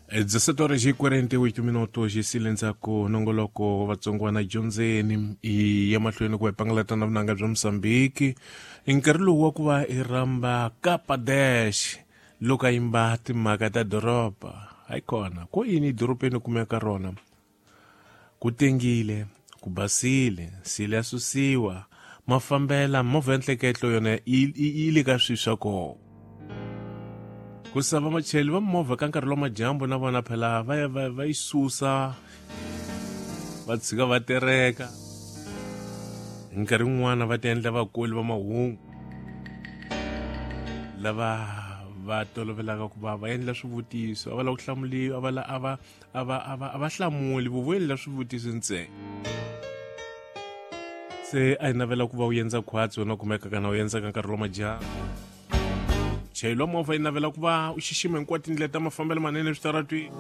17 horas e 48 minutos xi ndzhaku nongoloko wa Vatsongwana dyondzeni i ya mahlweni ku hi pangalata na vunanga bya Mosambiki. I nkarhi lowu wa ku va i rhamba Kapa Dash loko a yimba timhaka ta doroba. Hayi kona ko yini edorobeni kumeka rona ku tengile, ku basile, nsila ya susiwa, mafambela movha ya nhleketlo yona yi le ka swilo swa kona. Ku sava vachayeri va movha ka nkarhi lowa madyambu na vona phela va ya va yi susa, va tshika va tereka. Hi nkarhi wun'wana va ti endla vakoli va mahungu lava va tolovelaka ku va va endla swivutiso, a va lava ku hlamuriwa, a va a va a va a va a va hlamuli, vo endla swivutiso ntsena. Se a hi navela ku va u endza khwatsi wena kumeka kana u endza ka nkarhi wa madyambu. Chayeli wa movha yi navela ku va u xixima hinkwato tindlela ta mafambelo manene eswitaratwini.